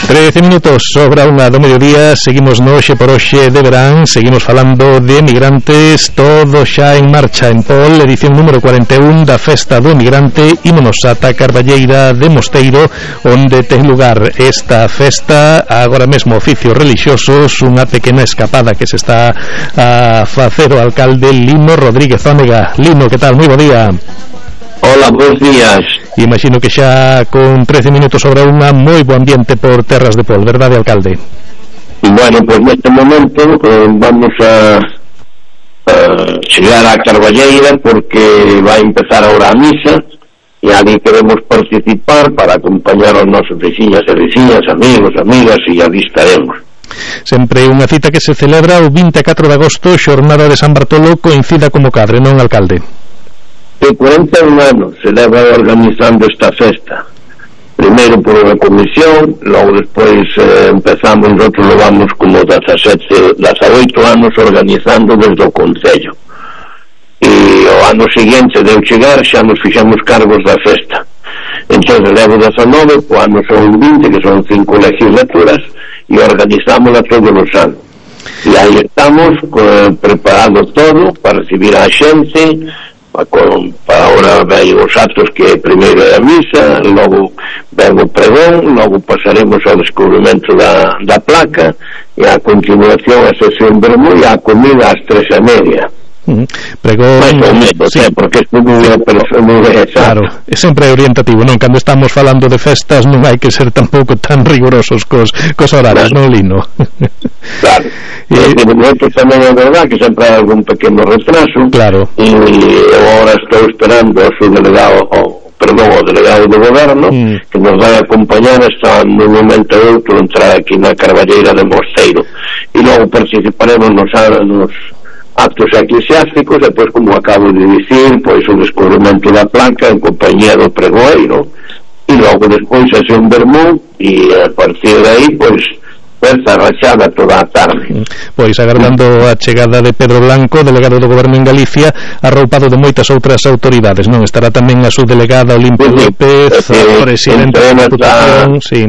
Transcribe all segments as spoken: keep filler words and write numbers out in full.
trece minutos sobra unha do mediodía. Seguimos no Oxe por Oxe de verán. Seguimos falando de emigrantes. Todo xa en marcha en Pol, edición número cuarenta e un da Festa do Emigrante. Ímonos ata Carballeira de Mosteiro, onde ten lugar esta festa. Agora mesmo oficios religiosos, unha pequena escapada que se está a facer o alcalde Lino Rodríguez Ónega. Lino, que tal? Moi bo día. Hola, bons días. Imagino que xa con trece minutos sobre unha, moi bo ambiente por terras de Pol, verdade, alcalde? Bueno, pues neste momento eh, vamos a, a chegar a Carballeira porque vai empezar ahora a misa e ali queremos participar para acompañar aos nosos veciñas e veciñas, amigos, amigas, e ali estaremos. Sempre unha cita que se celebra o vinte e catro de agosto, xornada de San Bartolo, coincida como cadre, non, alcalde? De cuarenta e un anos se leva organizando esta festa, primeiro por unha comisión, logo despois eh, empezamos, nosotros lo vamos como dezasete, dezaoito anos organizando desde o Concello, e o ano seguinte de eu chegar xa nos fixamos cargos da festa. Entón levo dezanove, o ano son vinte, que son cinco legislaturas, e organizámola todos os anos, e aí estamos eh, preparado todo para recibir a xente. Con, para ahora ven os actos que primeiro é a misa, logo ven o pregón, logo pasaremos ao descubrimento da, da placa e a continuación a sesión vermú e a comida ás tres e media. Uh-huh. Pregón, mais ou menos, sí. eh, porque é moi exacto. Claro, é sempre orientativo, non? Cando estamos falando de festas non hai que ser tampouco tan rigurosos cos, cos horarios, claro. Non, Lino? Claro, e nosotros tamén é verdad que sempre hai algún pequeno retraso. Claro. E eu agora estou esperando ao seu delegado, o, perdón, o delegado do goberno, mm. que nos vai acompañar hasta no momento outro entrar aquí na Carballeira de Mosteiro, e logo participaremos nos nos actos eclesiásticos, depois, como acabo de dicir, pois o descubrimento da placa en compañía do pregoeiro, e logo despois a un vermú, e a partir de aí, pois festa rachada toda a tarde. Pois agardando a chegada de Pedro Blanco, delegado do goberno en Galicia, arroupado de moitas outras autoridades, non? Estará tamén a subdelegada Olimpia sí, López, sí, a presidenta da Diputación, sí.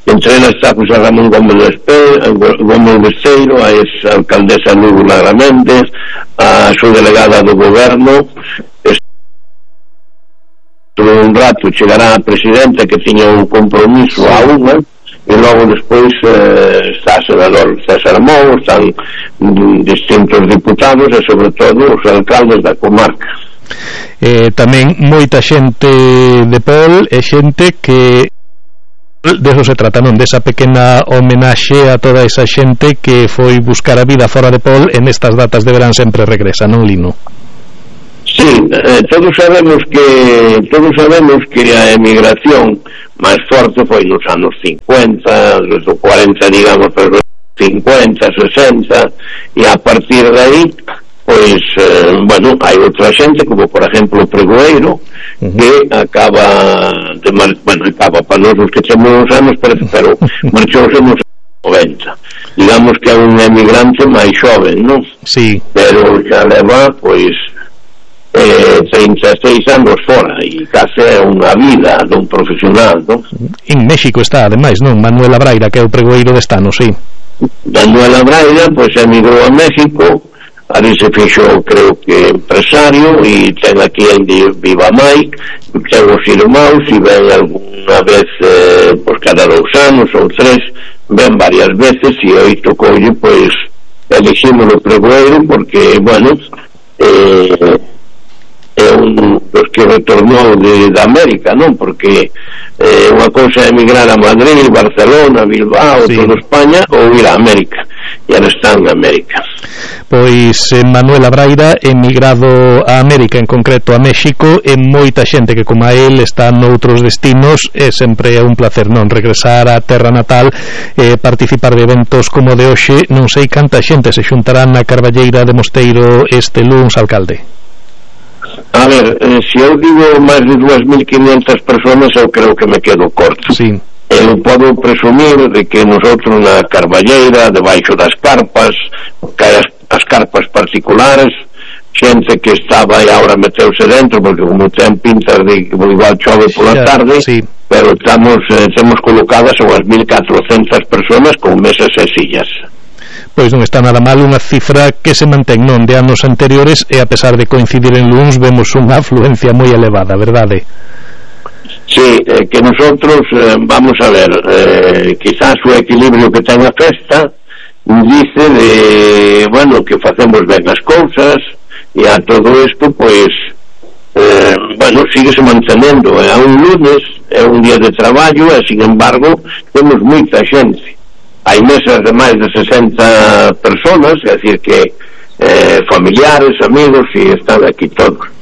Entrena está José Ramón Gómez Gómez Besteiro, a ex-alcaldesa Núbula Graméndez, a subdelegada do goberno. Todo un rato chegará a presidenta que tiña un compromiso a unha, e logo despois eh, está o senador César Mou, están distintos diputados e sobre todo os alcaldes da comarca. Eh, tamén moita xente de Pol e xente que de eso se trata, non? Desa pequena homenaxe a toda esa xente que foi buscar a vida fora de Pol e nestas datas de verán sempre regresa, non, Lino? Sí, eh, todos sabemos que todos sabemos que a emigración máis forte foi nos anos cincuenta, desde o cuarenta, digamos, pero cincuenta, sesenta, e a partir de aí pois, eh, bueno, hai outra xente como por exemplo o pregoeiro, uh-huh. que acaba de mar... bueno, acaba para nós os que temos uns anos, pero, pero marchouse nos noventa, digamos que é un emigrante máis xoven, non? Sí. Pero xa leva, pois eh, trinta e seis anos fora e case é unha vida dun profesional, non? En México está, ademais, non? Manuela Braira, que é o pregoeiro de Estano, sí. Manuela Braira, pois emigrou a México, ali se fixo, creo que empresario, e ten aquí en Viva Mai, ten os irmãos, e ven alguna vez eh, pois cada dous anos ou tres, ven varias veces, e hoy tocoulle, pois elegimos o pregoeiro porque, bueno, eh, é un dos que retornou de, de América, non? Porque eh, unha cousa é emigrar a Madrid, Barcelona, Bilbao, sí. Toda España, ou ir a América, e ahora está en América. Pois eh, Manuela Braira emigrado a América, en concreto a México, e moita xente que como a él está noutros destinos, e sempre é un placer, non? Regresar á terra natal, eh, participar de eventos como de hoxe. Non sei canta xente se xuntará na Carballeira de Mosteiro este luns, alcalde. A ver, eh, se eu digo máis de dúas mil quinhentas personas, eu creo que me quedo corto. Sí. Eu podo presumir de que nosotros na Carballeira, debaixo das carpas, que hai as, as carpas particulares, xente que estaba e agora meteuse dentro, porque como ten pintas de que igual chove pola tarde, sí. Pero estamos eh, temos colocadas unhas mil catrocentas personas con mesas e sillas. Pois non está nada mal, unha cifra que se mantén non de anos anteriores, e a pesar de coincidir en luns vemos unha afluencia moi elevada, verdade? Sí, eh, que nosotros eh, vamos a ver, eh, quizás o equilibrio que ten a festa dice de, bueno, que facemos ben as cousas, e a todo isto, pois eh, bueno, síguese mantenendo, é eh, un lunes, é un día de traballo, e sin embargo temos moita xente, hai mesas de máis de sesenta personas, é dicir que eh, familiares, amigos, e están aquí todos.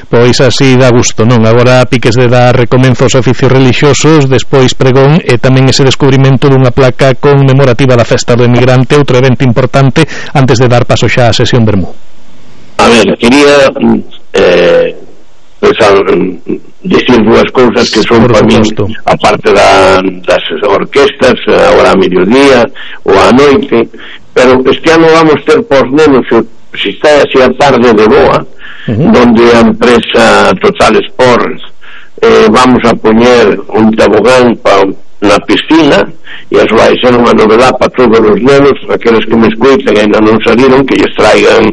Pois así dá gusto, non? Agora piques de dar recomenzo aos oficios relixiosos, despois pregón e tamén ese descubrimento dunha placa conmemorativa da festa do emigrante, outro evento importante antes de dar paso xa á sesión Bermú. A ver, quería eh, pues, a, decir dúas cousas que son para mí, aparte da, das orquestas, agora a mediodía ou a noite, pero este ano vamos ter pos nenos, se está así a tarde de boa, uh-huh. Donde a empresa Total Sports eh, vamos a poñer un tobogán pa, na piscina, e eso vai ser unha novedade para todos os nenos, aqueles que me escuiten e ainda non saliron, que lles traigan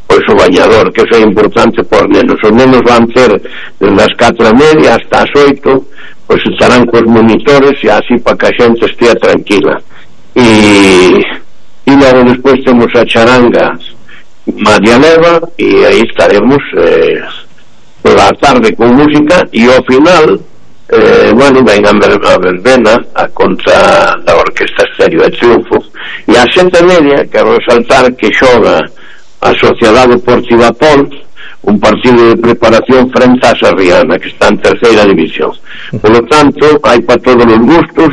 pois o bañador, que eso é importante por nenos. Os nenos van ter desde as catro e media hasta as oito, pois estarán cos monitores e así para que a xente estea tranquila. E, e logo despois temos a charanga María Leva, e aí estaremos eh, pola tarde con música, e ao final eh, bueno, ven a, ver, a verbena a contra da Orquesta Estéreo de Triunfo, e a sete e media quero resaltar que xoga a Sociedade Deportiva Pol un partido de preparación frente a Sarriana, que está en terceira división. Por lo tanto, hai para todos os gustos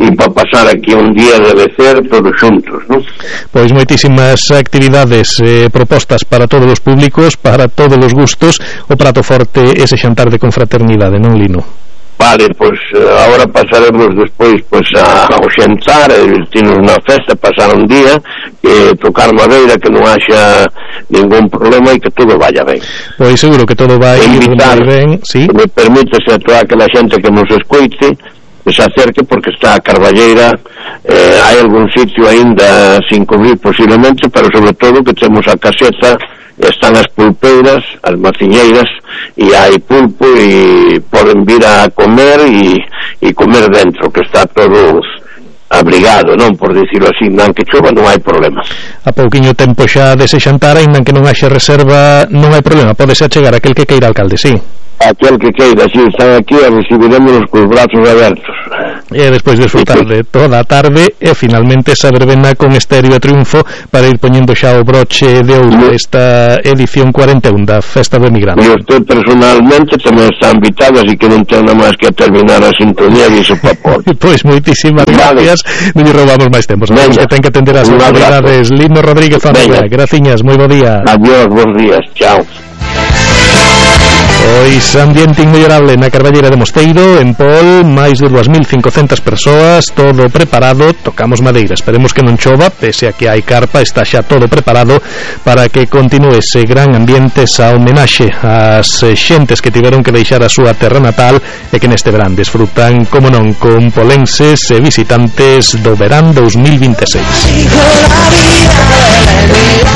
e para pasar aquí un día de becer todos xuntos, non? Pois moitísimas actividades eh, propostas para todos os públicos, para todos os gustos, o prato forte ese xantar de confraternidade, non, Lino? Vale, pois agora pasaremos despois pois a, ao xantar, vestirnos na festa, pasar un día, eh, tocar madeira, que non haxa ningún problema e que todo vaya ben. Pois seguro que todo vai invitar, ben, sí? Me permítese a toda aquela xente que nos escoite que se acerque, porque está a Carballeira, eh, hai algún sitio aínda sin cubrir posiblemente, pero sobre todo que temos a caseta, están as pulpeiras, as maciñeiras, e hai pulpo e poden vir a comer e, e comer dentro, que está todo abrigado, non, por dicirlo así, non que chova non hai problema. A pouquiño tempo xa dese xantar, ainda que non haxe reserva, non hai problema, podese achegar aquel que queira, alcalde, sí? Aquel que queira, si están aquí, a recibiremos cos brazos abertos. E despois desfrutar de toda a tarde e finalmente esa verbena con Estéreo de Triunfo para ir poñendo xa o broche de ouro esta edición cuarenta e un da Festa do Emigrante. E usted personalmente tamén está invitado, así que non ten nada máis que terminar a sintonía e iso papor. Pois moitísimas vale. Gracias, non lle roubamos máis tempo, sabemos que ten que atender as autoridades. Lino Rodríguez Fábrica, graciñas, moi bo día. Adiós, bons días, chao. Pois ambiente inmellorable na Carballeira de Mosteiro, en Pol, máis de dúas mil cincocentas persoas, todo preparado, tocamos madeira, esperemos que non chova, pese a que hai carpa, está xa todo preparado para que continue ese gran ambiente, esa homenaxe ás xentes que tiveron que deixar a súa terra natal e que neste verán desfrutan, como non, con polenses e visitantes do verán dos mil veintiséis.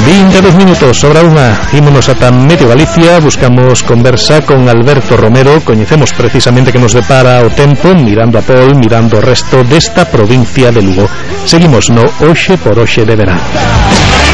vinte e dos minutos sobre unha, ímonos ata medio Galicia, buscamos conversa con Alberto Romero, coñecemos precisamente que nos depara o tempo, mirando a Pol, mirando o resto desta provincia de Lugo. Seguimos no Hoxe por Hoxe de Verán.